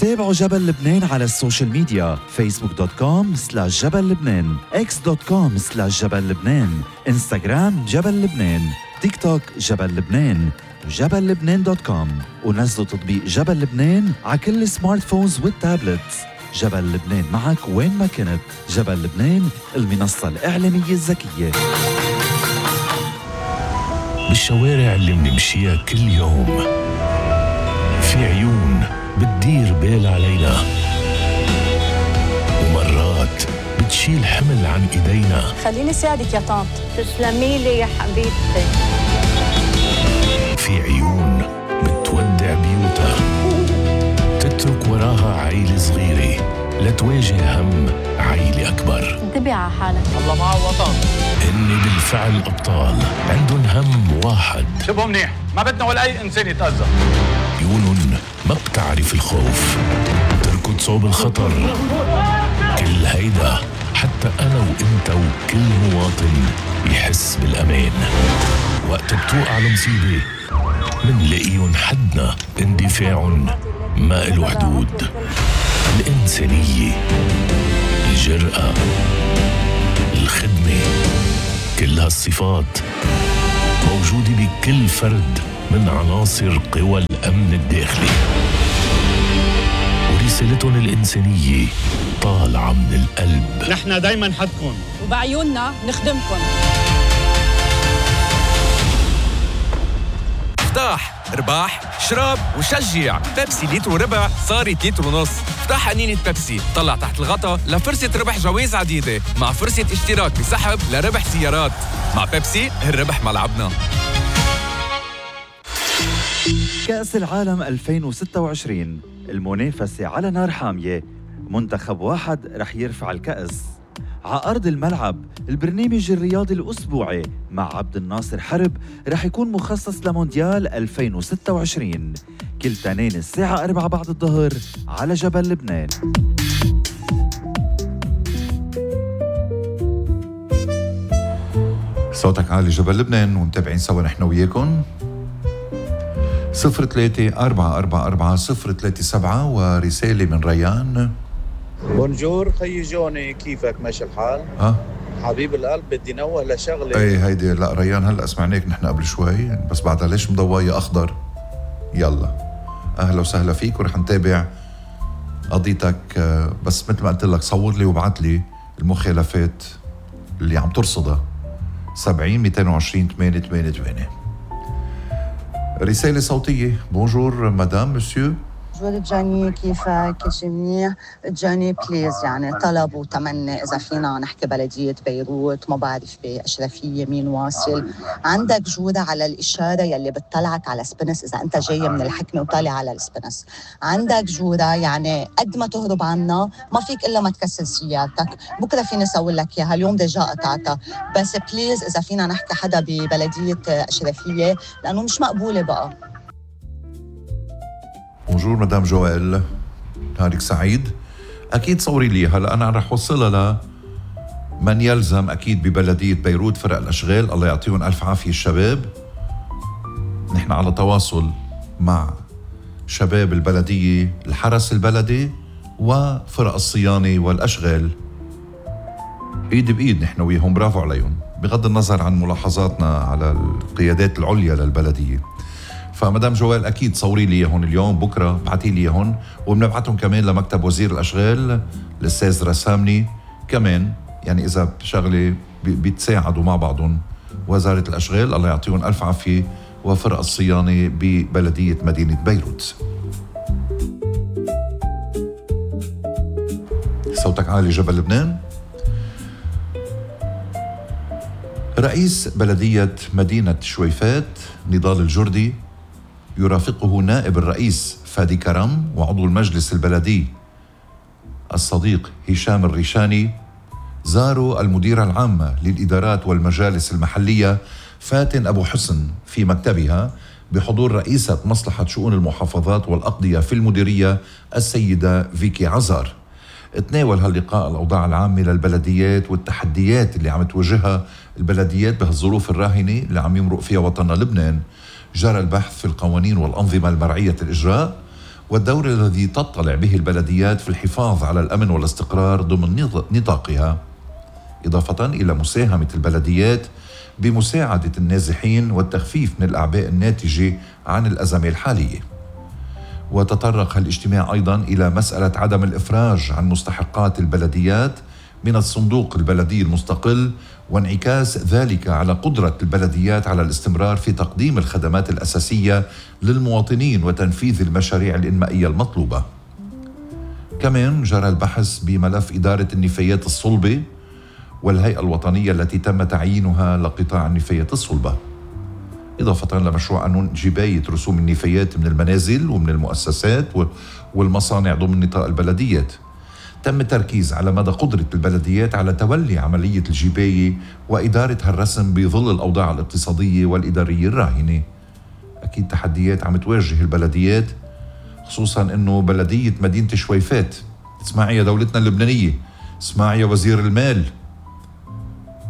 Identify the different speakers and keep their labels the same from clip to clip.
Speaker 1: تابعوا جبل لبنان على السوشيال ميديا facebook.com/جبل لبنان x.com/جبل لبنان انستغرام جبل لبنان تيك توك جبل لبنان وجبل لبنان.com ونزلوا تطبيق جبل لبنان على كل السمارت فونز والتابلتس. جبل لبنان معك وين ما كنت. جبل لبنان المنصة الإعلامية الذكية.
Speaker 2: بالشوارع اللي منمشيها كل يوم في عيون بتدير بال علينا، ومرات بتشيل حمل عن إيدينا.
Speaker 3: خليني ساعدك يا طنط.
Speaker 4: تسلمي لي يا حبيبتي.
Speaker 2: في عيون بتودع بيوتها، تترك وراها عيلة صغيرة لتواجه هم عيلة أكبر.
Speaker 3: انتبه على حالك،
Speaker 5: الله معه وطن.
Speaker 2: هن بالفعل أبطال، عندهم هم واحد.
Speaker 5: شبه منيح، ما بدنا ولا أي إنسان يتأذى.
Speaker 2: عيونهم ما بتعرف الخوف، تركض صوب الخطر. كل هيدا حتى أنا وإنت وكل مواطن يحس بالأمان. وقت بتوقع المصيبة منلاقيهم حدنا، اندفاعهم ما إله حدود. الإنسانية، الجرأة، الخدمة، كل هالصفات موجودة بكل فرد من عناصر قوى الأمن الداخلي، ورسالتهم الإنسانية طالعة من القلب.
Speaker 5: نحن دايما حدكم
Speaker 3: وبعيوننا نخدمكم.
Speaker 6: افتح، ارباح، شرب وشجع. بيبسي لتر وربع صارت لتر ونص. افتح قنينة بيبسي، طلع تحت الغطا لفرصة ربح جوائز عديدة مع فرصة اشتراك بسحب لربح سيارات. مع بيبسي الربح ملعبنا.
Speaker 1: كأس العالم 2026 المنافسة على نار حامية. منتخب واحد رح يرفع الكأس على أرض الملعب. البرنامج الرياضي الأسبوعي مع عبد الناصر حرب رح يكون مخصص لمونديال 2026 كل تنين الساعة 4 بعد الظهر على جبل لبنان.
Speaker 7: صوتك عالي جبل لبنان ومتابعين سوا نحن وياكم 03-444-037 ورسالة من ريان.
Speaker 8: بونجور خيي جوني، كيفك؟ ماشي الحال؟ حبيب القلب، بدي نوه لشغله.
Speaker 7: ايه هيدي لا ريان هلا سمعناك نحن قبل شوي، بس بعدها ليش مضواية اخضر؟ يلا اهلا وسهلا فيك ورح نتابع قضيتك. بس مثل ما قلت لك صور لي وابعت لي المخالفات اللي عم ترصدها. 70-220-888. رسالة صوتية. بونجور مدام مسيو.
Speaker 9: بونجور جاني، كيفك؟ كل شي منيح؟ جاني بليز يعني طلب وتمني إذا فينا نحكي بلدية بيروت، ما بعرف بأشرفية مين واصل. عندك جودة على الإشارة يلي بتطلعك على سبنس إذا أنت جاي من الحكمة وطالع على السبنس. عندك جودة يعني قد ما تهرب عنا ما فيك إلا ما تكسل سيارتك. بكرة فيني أسوي لك إياها، اليوم ديجا قطعتها. بس بليز إذا فينا نحكي حدا ببلدية أشرفية لأنه مش مقبولة بقى.
Speaker 7: بونجور مدام جوال، نهارك سعيد. أكيد صوري لي هلا، أنا رح وصلها لمن يلزم أكيد ببلدية بيروت، فرق الأشغال، الله يعطيهم ألف عافية الشباب. نحن على تواصل مع شباب البلدية، الحرس البلدي وفرق الصيانة والأشغال، إيد بإيد نحن وياهم، برافو عليهم بغض النظر عن ملاحظاتنا على القيادات العليا للبلدية. فمدام جوال أكيد صوري لي هون اليوم، بكرة بعتي لي هون، وبنبعتهم كمان لمكتب وزير الأشغال الأستاذ رسامني كمان. يعني إذا شغلة بيتساعدوا مع بعضهم وزارة الأشغال، الله يعطيهم ألف عافية، وفرق الصيانة ببلدية مدينة بيروت. صوتك عالي جبل لبنان. رئيس بلدية مدينة شويفات نضال الجردي يرافقه نائب الرئيس فادي كرم وعضو المجلس البلدي الصديق هشام الريشاني، زاروا المديرة العامة للإدارات والمجالس المحلية فاتن أبو حسن في مكتبها بحضور رئيسة مصلحة شؤون المحافظات والأقضية في المديرية السيدة فيكي عزار. تناول هاللقاء الأوضاع العامة للبلديات والتحديات اللي عم تواجهها البلديات بهالظروف الراهنة اللي عم يمرق فيها وطننا لبنان. جرى البحث في القوانين والأنظمة المرعية الإجراء والدور الذي تطلع به البلديات في الحفاظ على الأمن والاستقرار ضمن نطاقها، إضافة إلى مساهمة البلديات بمساعدة النازحين والتخفيف من الأعباء الناتجة عن الأزمة الحالية. وتطرق الاجتماع أيضا إلى مسألة عدم الإفراج عن مستحقات البلديات من الصندوق البلدي المستقل، وانعكاس ذلك على قدرة البلديات على الاستمرار في تقديم الخدمات الأساسية للمواطنين وتنفيذ المشاريع الإنمائية المطلوبة. كمان جرى البحث بملف إدارة النفايات الصلبة والهيئة الوطنية التي تم تعيينها لقطاع النفايات الصلبة، إضافة لمشروع قانون جباية رسوم النفايات من المنازل ومن المؤسسات والمصانع ضمن نطاق البلديات. تم التركيز على مدى قدرة البلديات على تولي عملية الجباية وإدارة هالرسم بظل الأوضاع الاقتصادية والإدارية الراهنة. أكيد تحديات عم تواجه البلديات، خصوصا أنه بلدية مدينة شويفات، اسمعي يا دولتنا اللبنانية، اسمعي يا وزير المال،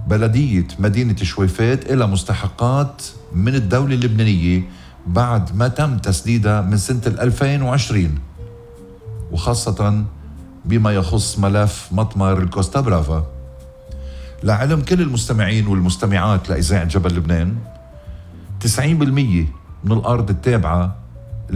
Speaker 7: بلدية مدينة شويفات إلى مستحقات من الدولة اللبنانية بعد ما تم تسديدها من سنة 2020، وخاصة بما يخص ملف مطمر الكوستا برافا. لعلم كل المستمعين والمستمعات لإذاعة جبل لبنان، 90% من الأرض التابعة